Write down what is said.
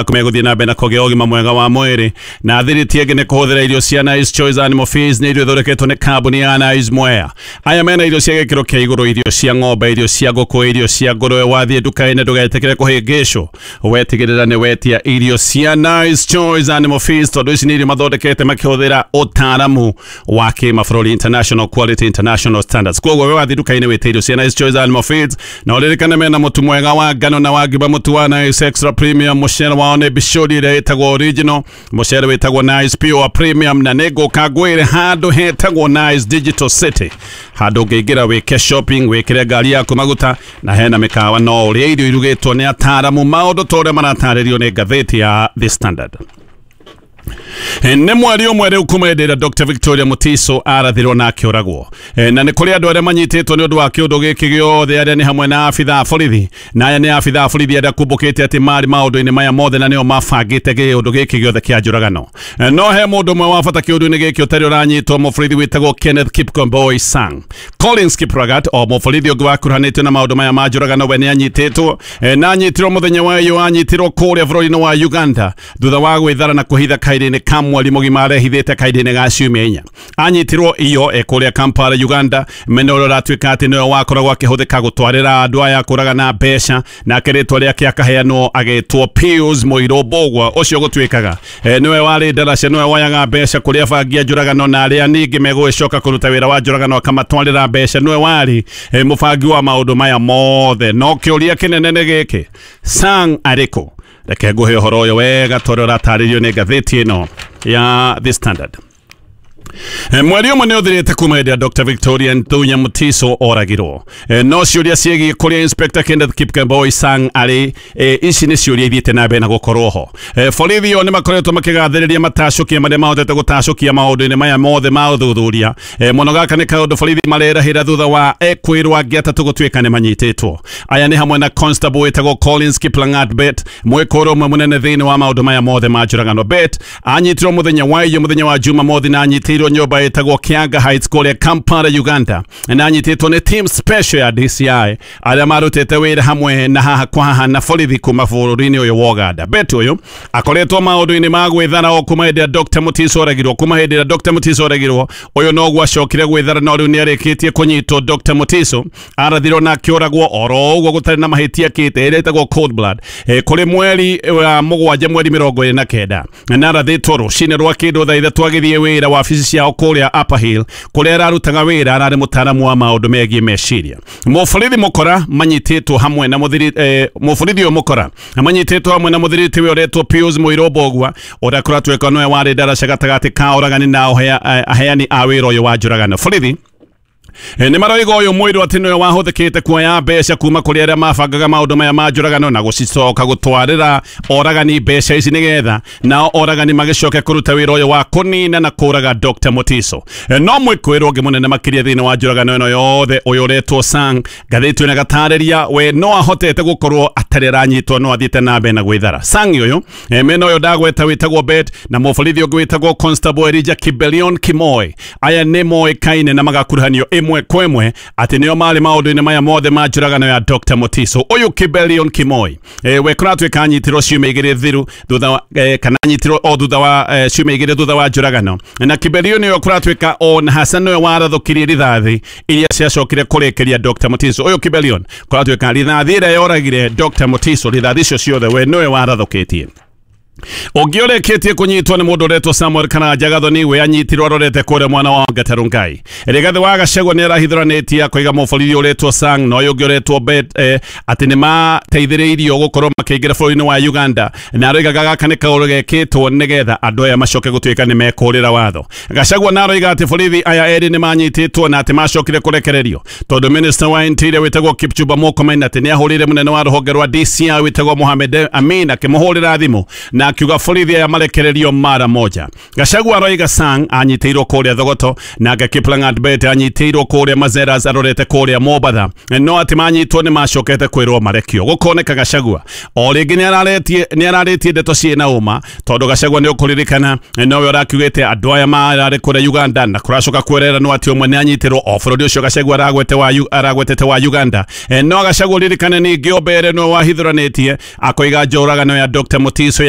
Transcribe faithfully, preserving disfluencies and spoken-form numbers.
Kumegũthiĩ na mbere na kũgĩa ũgima mwega wa mwĩrĩ na thiriti ĩngĩ nĩ kũhũthĩra irio cia Nice Choice Animal Feeds. Nĩ irio ithondeketwo nĩ kambuni ya Nice Mwea. Aya mena irio cia gĩkĩro kĩa igũrũ, irio cia ng'ombe, irio cia ngũkũ, irio cia ngũrwe. Wathiĩ nduka-inĩ ndũgetĩkĩre kũhĩngĩcwo, wetigĩrĩra nĩ wetia irio cia Nice Choice Animal Feeds, tondũ ici nĩ irio mathondekete makĩhũthĩra ũtaaramu wa kĩmabũrũri, international quality, international standards. Koguo we wathiĩ nduka-inĩ wĩte irio cia Nice Choice Animal Feeds, na ũririkane mena mũtu mwega wa ngano na wa ngima, mũtu wa Nice Extra Premium. Mũcere wao nĩ bicũri ĩrĩa ĩtagwo original, mũcere wĩtagwo Nice Pure Premium. Na nĩ ngũka ngwĩre handũ hetagwo Nice Digital City, handũ ũngĩingĩra wĩke shopping, wĩkĩre ngari yaku maguta, na hena mĩkawa, no ũrĩe irio irugĩtwo nĩ ataaramu, maũndũ ta ũrĩa maratarĩrio nĩ ngathĩti ya The Standard. Nĩ mweri ũmwe rĩu kuma hĩndĩ ĩrĩa Doctor Victoria Mutiso arathirwo na akĩũragwo. Na nĩ kũrĩ andũ arĩa manyitĩtwo nĩ ũndũ wa kĩũndũ gĩkĩ gĩothe, arĩa nĩ hamwe na abithaa borithi, na aya nĩ abithaa borithi arĩa kumbũkĩte atĩ marĩ maũndũ-inĩ maya mothe na nĩo mabangĩte kĩũndũ gĩkĩ gĩothe kĩa njũragano. No he mũndũ ũmwe wa bata kĩũndũ-inĩ gĩkĩ ũtarĩ ũranyitwo, mũborithi wĩtagwo Kenneth Kipkemboi Sang. Collins Kiplagat, o mũborithi ũngĩ wakuruhanĩtio na maũndũ maya ma njũragano, we nĩ anyitĩtwo, na anyitirwo mũthenya wa iyo, anyitirwo kũrĩa bũrũri-inĩ wa Uganda thutha wa gwĩthara na kũhitha kahinda-inĩ ka mweri mũgima arehithĩte kahinda-inĩ ga ciumia inya. Anyitirwo iyo e kũrĩa Kampala, Uganda, mena ũrĩa ũratuĩka atĩ nĩwe wakoragwo akĩhũthĩka gũtwarĩra andũ aya kũragana mbeca, nake rĩtwa rĩake akaheanwo agĩtwo Pius Mũirũ Mbũgua, ũcio gũtuĩkaga e, nĩwe warĩ ndaraca, nĩwe woyaga mbeca kũrĩa bangi ya njũragano na arĩa ningĩ megũgĩcoka kũruta wĩra wa njũragano akamatwarĩra mbeca, nĩwe warĩ e, mũbangi wa maũndũ maya mothe. No kĩũria kĩnene nĩ gĩkĩ, Sang arĩkũ? Reke nguhe ũhoro ũyũ wega tondũ ũratarĩrio nĩ ngathĩti ĩno ya The Standard. Mweri ũmwe nĩ ũthirĩte kuma hĩndĩ ya Doctor Victoria Ndunya Mutiso oragirwo. No ciũria ciĩgiĩ kũrĩa Inspector Kenneth Kipkemboi Sang arĩ, ici nĩ ciũria ithiĩte na mbere na gũkorwo ho. Borithi o nĩ makoretwo makĩgathĩrĩria matacũkia marĩa mahotete gũtacũkia maũndũ-inĩ maya mothe ma ũthuthuria. Mũno gaka nĩ kaũndũ borithi marerahĩra thutha wa ekwĩrwo angĩ atatũ gũtuĩka nĩ manyitĩtwo. Aya nĩ hamwe na constable wĩtagwo Collins Kiplangat Bet, mwĩkũrũ ũmwe mũnene thĩinĩ wa maũndũ maya mothe ma njũragano. Bet anyitirwo mũthenya wa iyo, mũthenya wa Jumamothi, na anyitirwo nyũmba ĩtagwo Kianga Heights kũrĩa Kampala, Uganda, na anyitĩtwo nĩ team special ya D C I arĩa marutĩte wĩra hamwe na haha kwa haha na borithi kuma bũrũri-inĩ ũyũ wa Uganda. Bet ũyũ akoretwo maũndũ-inĩ ma gwĩthara o kuma hĩndĩ ya Doctor Mutiso oragirwo, kuma hĩndĩ ya Doctor Mutiso oragirwo ũyũ noguo acokire gwĩthara, no rĩu nĩ arĩkĩtie kũnyitwo. Doctor Mutiso arathirwo na akĩũragwo oro ũguo gũtarĩ na mahĩtia kĩte, ĩrĩa ĩtagwo cold blood, kũrĩ mweri wa mũgwanja mweri mĩrongo ĩrĩ na kenda, na arathĩtwo rũcinĩ rwa kĩndũ thaa ithatũ agĩthiĩ wĩra wabici ciao kũrĩa Upper Hill kũrĩa ararutaga wĩra, ararĩ mũtaaramu wa maũndũ megiĩ meciria. Mũborithi mũkora manyitĩtwo hamwe na mũthiri eh, mũborithi ũyũ mũkora manyitĩtwo hamwe na mũthiriti ũyũ ũretwo Pius Mũirũ Mbũgua, ũrĩa kũratuĩka nĩwe warĩ ndaraca gatagatĩ ka oragani na aheani a wĩra ũyũ wa njũragano. Borithi nĩ maroiga ũyũ mũirũ atĩ nĩwe wahũthĩkĩte kuoya mbeca kuma kũrĩ arĩa mabangaga maũndũ maya ma njũragano na gũcicoka gũtwarĩra oragani mbeca ici nĩgetha nao oragani magĩcoke kũruta wĩra ũyũ wa kũnina na kũraga Doctor Mutiso. No mwĩkũĩrwo ũngĩ mũnene makĩria thĩinĩ wa njũragano ĩno yothe, ũyũ ũretwo Sang, ngathĩti ĩno ĩgatarĩria we no ahotete gũkorwo atarĩ aranyitwo, no athiĩte na mbere na gwĩthara. Sang ũyũ mena ũyũ ndagweta wĩtagwo Bet na mũborithi ũngĩ wĩtagwo Constable Elijah Kibelion Kimoi, aya nĩ moĩkaine na magakuruhanio ĩmwe kwa ĩmwe atĩ nĩo marĩ maũndũ-inĩ maya mothe ma njũragano ya Doctor Mutiso. Ũyũ Kibelion Kimoi e, we kũratuĩka anyitirwo ciumia igĩrĩ thiru thutha wa e, kana anyitirwo o thutha wa e, ciumia igĩrĩ thutha wa njũragano, na Kibelion ũyũ kũratuĩka o na Hassan nĩwe warathũkirie rithathi iria ciacokire kũrĩkĩria Doctor Mutiso. Ũyũ Kibelion kũratuĩka rithathi ĩrĩa yoragire Doctor Mutiso, rithathi icio ciothe we nĩwe warathũkĩtie. Ũngĩ ũrĩkĩtie kũnyitwo nĩ mũndũ ũretwo Samuel Karanja Gathoni, we anyitirwo arorete kũrĩa mwana wa Gatarungai. Rigathi wa Gachagua nĩ arahithũranĩtie akoiga mũborithi ũretwo Sang na ũyũ ũngĩ ũretwo Bet eh, atĩ nĩ mateithĩrĩirio gũkorwo makĩingĩra bũrũri-inĩ wa Uganda, na aroigaga gaka nĩ kaũndũ gekĩtwo nĩgetha andũ aya macoke gũtuĩka nĩ mekũrĩra watho. Gachagua na aroiga atĩ borithi aya erĩ nĩ manyitĩtwo na atĩ macokire kũrekererio tondũ minister wa Interior wĩtagwo Kipchumba Murkomen atĩ nĩ ahũrĩire mũnene wa rũhonge rwa D C I wĩtagwo Mohamed Amin akĩmũhũrĩra thimũ na Akiuga borithi aya marekererio mara moja. Gachagua aroiga Sang anyitĩirwo kũrĩa Thogoto, nake Kiplangat Bett anyitĩirwo kũrĩa Mazeras arorete kũrĩa Mombatha, no atĩ manyitwo nĩ macokete kwĩrwo marekio. Gũkoneka Gachagua o rĩngĩ nĩ ararĩtie ndeto ciĩna ũma, tondũ Gachagua nĩ ũkũririkana nowe ũrakiugĩte andũ aya mararĩ kũrĩa Uganda na kũracoka kwereranwo atĩ ũmwe nĩ anyitĩrwo o bũrũri ũcio Gachagua aragwete wa aragwetete wa Uganda. No Gachagua ririkane ningĩ o mbere nĩwe wahithũranĩtie akoiga njũragano ya Doctor Mutiso ya